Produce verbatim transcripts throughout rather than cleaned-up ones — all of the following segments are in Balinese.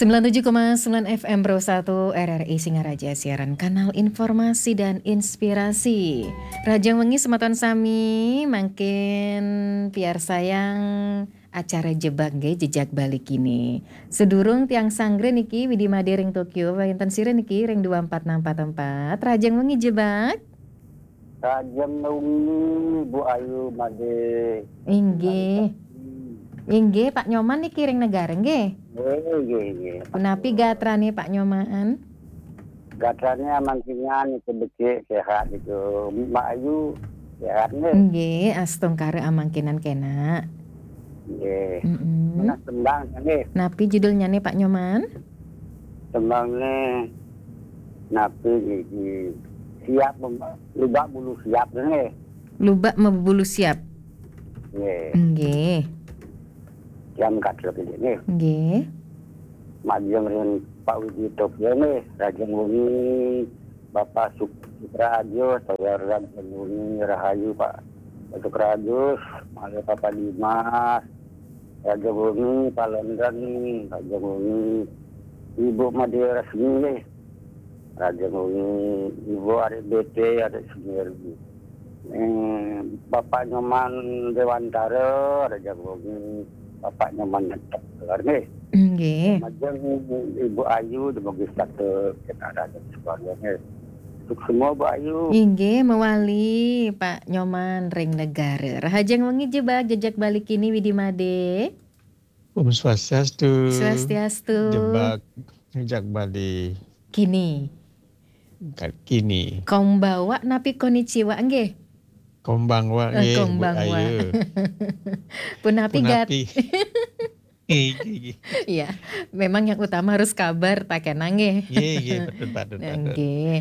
Sembilan tujuh koma sembilan F M Pro satu R R I Singaraja, siaran kanal informasi dan inspirasi. Rahajeng wengi semeton sami, mangkin piarsayang acara Jebak nggih, Jejak Bali Kini. Sedurung tiang sanggre niki, Widi Made ring Tokyo, wenten sira niki ring dua empat enam empat empat. Rahajeng wengi Jebak. Rahajeng wengi, Bu Ayu Made. Inggih. Inggih, Pak Nyoman niki ring Negara nggih. Nggih, nggih, nggih. Punapi gatrane Pak Nyoman? Gatrane amangkinan niku becik, sehat niku. Mbak Ayu sehat nggih? Nggih, astungkara amangkinan kena. Nggih. Mm-mm. Menas tembang nggih. Napi judulnyane Pak Nyoman? Tembangne napi niki? Siap mem-, lubak bulu siap nggih. Lubak mebulu siap. Nggih. Nggih. Jam kadrep nggih. Nggih. Majeng ring Pak Widi Tokyo nggih, rahajeng wengi Bapak Suk-, Sukrajo, saya rahajeng wengi rahayu Pak Sukrajo, malih Bapak Dimas, rahajeng wengi Pak London, rahajeng wengi Ibu Made Resmi nggih. Rahajeng wengi Ibu adik B T, adik sendiri. Eh, Bapak Nyoman Dewantara, rahajeng wengi Bapak Nyoman Nyetok, nggih. Nggih. Majeng Ibu Ayu, dumugi setata kita rahajeng sekeluarga nggih. Suksma Bu Ayu. Inggih, mewali Pak Nyoman ring Negara. Rahajeng wengi Jebak, Jejak Bali Kini, Widi Made. Om Swastiastu. Swastiastu. Jebak, Jejak Bali. Kini. Ka-, kini. Konbawa napi konnichiwa nggih? Konbanwa, eh, nggih, Bu Ayu. Punapi gat-, punapi? Nggih, nggih, nggih. Iya, memang yang utama harus kabar, ta kena nggih. Nggih, nggih, betul, betul, betul. Nggih.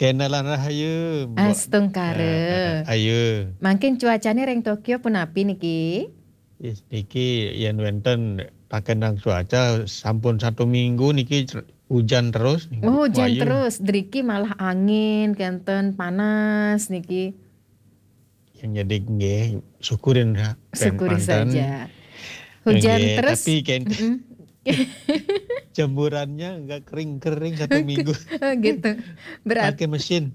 Kena lan rahayu, Bu. Astungkara. Eh, eh, eh, ayu. Mangkin cuacane ring Tokyo punapi niki? Is, niki yen wenten pakenang cuaca sampun satu minggu niki cer-, hujan terus niki, Bu Ayu. Oh, hujan terus. Driki malah angin, kenten panas niki. Yang jadi nggih, syukurin ya, pen-, syukuri manten saja. Hujan nggih, terus. Tapi kenten, mm-mm, jemurannya nggak kering-kering satu minggu. Oh, gitu. Berat-, pakai mesin.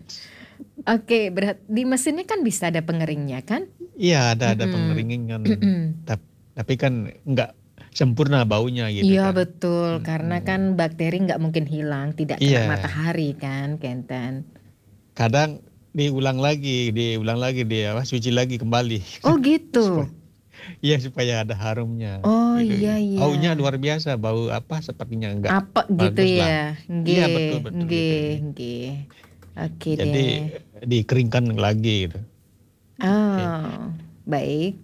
Oke, berat-, di mesinnya kan bisa ada pengeringnya kan? Iya, ada, ada, mm-mm, pengeringan kan. Mm-mm. Tap-, tapi kan nggak sempurna baunya gitu. Iya, kan, betul. Mm-mm. Karena kan bakteri nggak mungkin hilang, tidak kena, iya, matahari kan, kenten. Kadang diulang lagi, diulang lagi, di apa, cuci lagi kembali. Oh, gitu. Supaya, iya, supaya ada harumnya. Oh, gitu. Iya, iya. Baunya luar biasa, bau apa, sepertinya enggak bagus lah. Apa gitu ya? Iya, nggih, betul, betul, gitu, nggih, nggih. Oke. Jadi, deh, dikeringkan lagi gitu. Oke. Oh, baik.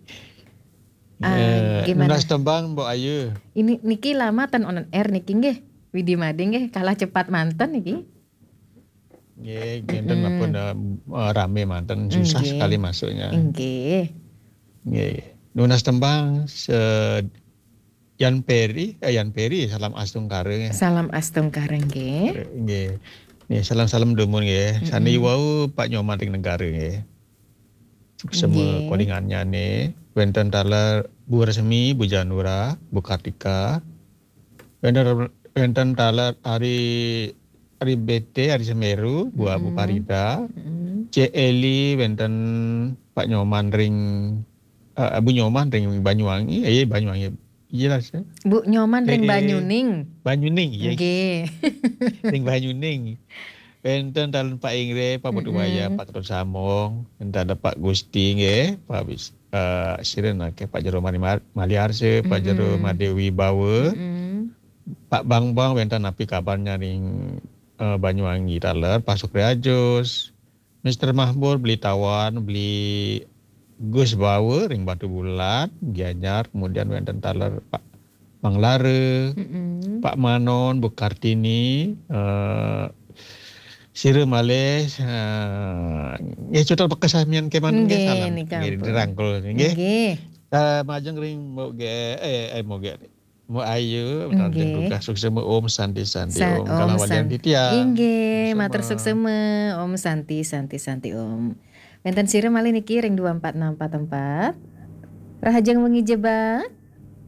Ah, eh, gimana? Nunas tembang, Mbok Ayu. Ini niki lama ten on air niki nggih. Widi Made nggih, kalah cepat manten niki. Nggih, ngenten, mm-mm, ampun, eh, eh, rame manten, susah, nggih, sekali masuknya. Nggih. Nggih. Nunas tembang se-, Yan Peri, eh, Yan Peri, salam astungkara nggih. Salam astungkara nggih. Nggih. Nggih, salam-salam dumun nggih. Mm-mm. Sane wau Pak Nyoman ring Negara nggih. Suksema, nggih, kolingannyane, wenten taler Bu Resmi, Bu Janura, Bu Kartika. Wenten, wenten taler Ari, Ari B T, Ari Semeru, Bu, Bu, mm-mm, Farida. Mm-mm. Cek Eli, wenten Pak Nyoman ring, eh, Bu Nyoman ring Banyuwangi, eh, Banyuwangi. Jelas ya. Bu Nyoman ring, eh, eh, Banyuning. Banyuning, ya. Nggih. Ring Banyuning. Wenten taler Pak Ingre, Pak Putu Waya, mm-mm, Pak Ketut Samong, wenten taler Pak Gusti nggih, Pak Bis-, eh, sira nake Pak Jero Mani Mar-, Maliarse, Pak Jero, mm-mm, Made Wibawa, mm-mm, Pak Bambang, wenten napi kabarnya ring, eh, Banyuwangi taler, Pak Sukri Ajus, Mister Mahmur, Beli Tawan, Beli Gus Bawa ring Batubulan, Gianyar, kemudian wenten taler Pak Manglara, mm-mm, Pak Manon, Bu Kartini, eh, sira malih, eh, nggih, cutet bekasamian kemanten nggih, nggih, salam. Niki nggih, ampun, dirangkul nggih. Nggih. Eh, majeng ring Mbok Ge-, eh, eh, Mbok Ge-, Mbok Ayu, nggih, matur suksma, Om Santi, Santi, sa-, Om. Om Kalawalian San-, titiang. Inggih, suksma, matur suksma, Om Santi, Santi, Om. Wenten sira malih niki ring dua empat enam empat empat. Rahajeng wengi Jebak.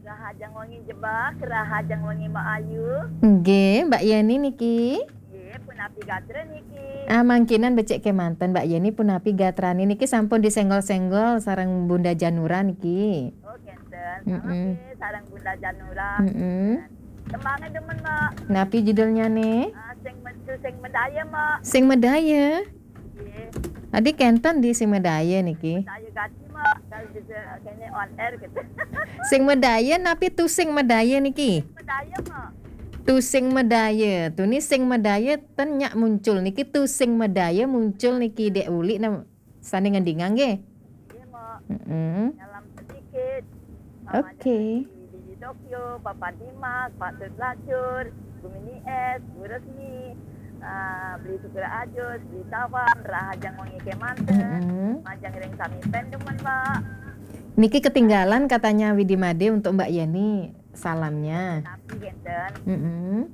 Rahajeng Wengi jebak, rahajeng wengi Mbak Ayu. Nggih, Mbak Yeni niki. Nggih, punapi gatra niki? Ah, mangkinan becik kemanten Mbak Yeni, punapi gatrane niki, sampun disenggol-senggol sareng Bunda Janura niki. Oh, kenten. Mm-mm. Nggih, sareng Bunda Janura. Mm-mm. Tembangnya demen, Mbak. Napi judulnya nih? Ah, sing metu sing medaya, Mbak. Sing medaya. Nggih. Adi kenten di sing medaya niki. Saya gati, Mbak. Kalau bisa kene on air gitu. Sing medaya napi tu sing medaya niki? Medaya, Mbak. Tu sing medaya. Tuni sing medaya ten nyak muncul niki, tu sing medaya muncul niki, Dek Uli nam sane ngendingang nggih. Nggih, Mbak. Mm-mm. Nyelam sedikit. Oke. Di, di Tokyo, Papa Dimas, Pak Tut Lacur, Bu Mini Es, Bu Resmi, ah, Beli Supir Ajus, Beli Tawan, rahajeng wengi kemanten. Mm-mm. Majeng ring sami pen demen, Mbak. Niki ketinggalan katanya Widi Made untuk Mbak Yeni salamnya. Tapi kenten, Mm-mm.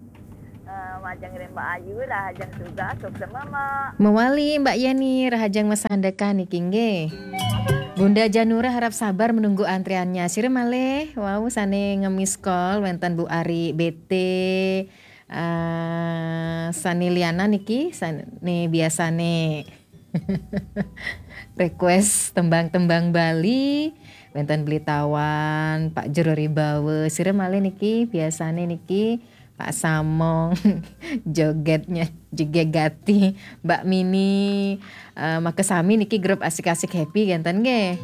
eh, majeng ring Mbak Ayu, rahajeng tugas, suksema, Mbak. Mewali Mbak Yeni, rahajeng masandekan niki nggih. Bunda Janura harap sabar menunggu antriannya. Sira malih wau sane nge-miss call wenten Bu Ari B T, eh, sane liana niki, sane biasane request tembang-tembang Bali, wenten Beli Tawan, Pak Jero Ribawa, sira malih niki biasane niki Pak Samong, jogetnya juga gati, Mbak Mini, eh, makasami niki grup asik-asik happy kenten nggih.